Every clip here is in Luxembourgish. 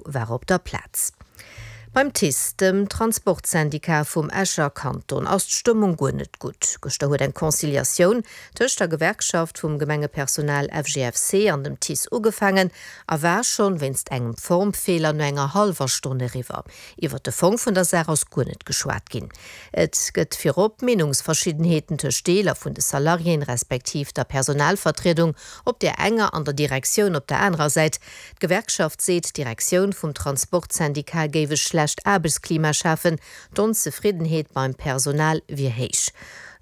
War op der Plaz. Beim TICE, dem Transportsyndicat vum Escher Kanton, ass d'Stëmmung guer net gutt. Gëschter huet eng Conciliatioun tëscht der Gewerkschaft vum Gemengepersonal FGFC an dem TICE ugefaangen a war schonn wéinst engem Formfeeler no enger hallwer Stonn eriwwer. Iwwert de Fong vun der Saach ass guer net geschwat ginn. Et gëtt virop Meenungsverschiddenheeten tëscht Deeler vun de Salariéen, respektiv der Personalvertriedung op där enger an der Direktioun op der anerer Säit. D'Gewerkschaft seet, d'Direktioun vum Transportsyndicat géif e schlecht Aarbechtsklima schafen, d'Onzefriddenheet beim Personal wier héich.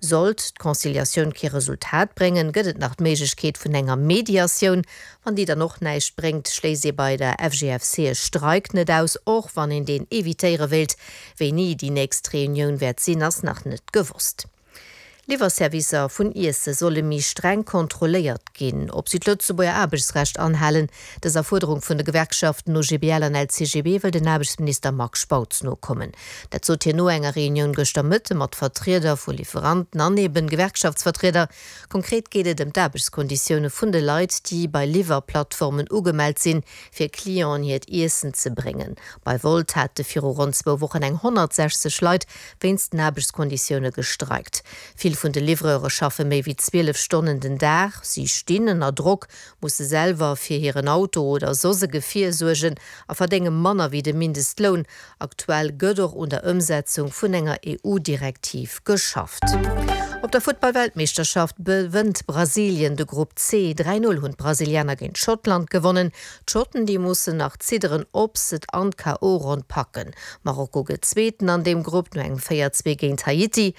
Sollt d'Conciliatioun kee Resultat bréngen, gëtt et nach d'Méiglechkeet vun enger Mediatioun. Wann déi dann och näischt bréngt, schléisst ee bei der FGFC e Streik net aus, och wann een deen evitéiere wéilt. Wéini déi nächst Reunioun wäert sinn, ass nach net gewosst. Liwwerservicer vun Iesse solle méi streng kontrolléiert ginn, ob si d'Lëtzebuerger Aarbechtsrecht anhalen. Dëser Fuerderung vun de Gewerkschaften OGBL an LCGB wëll den Aarbechtsminister Marc Spautz nokommen. Dat sot hien no enger Reunioun gëschter Mëtte mat Vertrieder vu Liwweranten an eben Gewerkschaftsvertrieder. Konkret geet et ëm d'Aarbechtskonditioune vun de Leit, déi bei Liwwerplattformen ugemellt sinn, fir Clienten hiert Iessen ze bréngen. Bei Wolt hate viru ronn zwou Wochen eng 160 Leit wéinst den Aarbechtskonditioune gestreikt. Vill vun de Livreure schaffe méi wéi 12 Stonnen den Dag. Si stinn ënner Drock, musse selwer fir hiren Auto oder soss e Gefier suergen a verdénge manner wéi de Mindestloun. Aktuell gëtt och un der Ëmsetzung vun enger EU-Direktiv geschafft. Op der Futtball-Weltmeeschterschaft gewënnt Brasilien de Grupp C. 3, 0 hunn d'Brasilianer géint Schottland gewonnen. D'Schotten, déi mussen nach zidderen, ob s'et an d'KO-Ronn packen. Marokko gëtt Zweeten an deem Grupp no engem 4, 2 géint Haiti.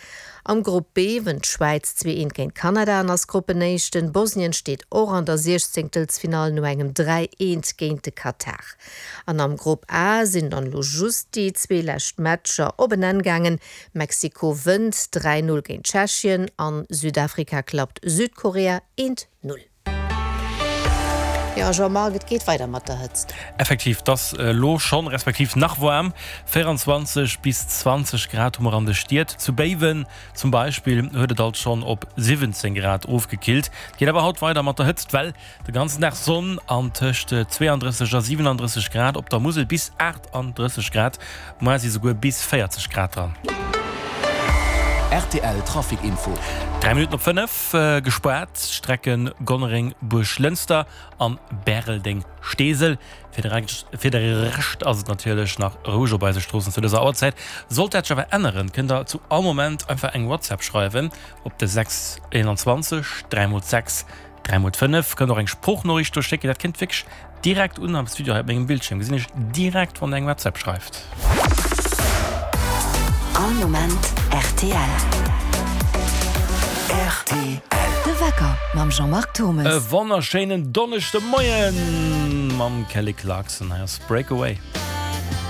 Am Grupp B wënnt d'Schwäiz 2, 1 géint Kanada an ass Gruppenéischten. Bosnien steet och an der Siechzéngtelsfinall no engem 3, 1 géint de Katar. An am Grupp A sinn dann elo just déi zwee lescht Matcher op en Enn gaangen. Mexiko wënnt 3, 0 géint Tschechien an Südafrika klappt Südkorea 1, 0. Jo Jean-Marc, et geet weider mat der Hëtzt. Effektiv, 't ass elo schonn, respektiv nach waarm. 24 bis 20 Grad hu mer an de Stied. Zu Béiwen zum Beispill huet et alt schonn op 17 Grad ofgekillt. Et geet awer haut weider mat der Hëtzt, well de ganzen Dag Sonn an tëscht 32 a 37 Grad, op der Musel bis 38 Grad, Moar si souguer bis 40 Grad dran. Rtl Trafic Info. 3 Minutten op 5, gespaart d'Strecken Gonnereng-Buerglënster an Bäreldeng-Steesel. Fir de Fir de Rescht ass et natierlech nach roueg op eise Stroossen zu dëser Auerzäit. Sollt dat sech awer änneren, kënnt der zu all Moment einfach eng WhatsApp schreiwen op de 6 21 3 mol 6 3 mol 5. Kënnt och eng Sproochnoriicht do schécken, dat kënnt wierklech Direkt un am Studio hei op mengem Bildschierm gesinn ech direkt wann der eng WhatsApp schreift. All Moment rtl. Rtl. De Wecker mam Jean-Marc Thommes. E wonnerschéinen Donneschdemoien mam Kelly Clarkson. Hei ass Breakaway.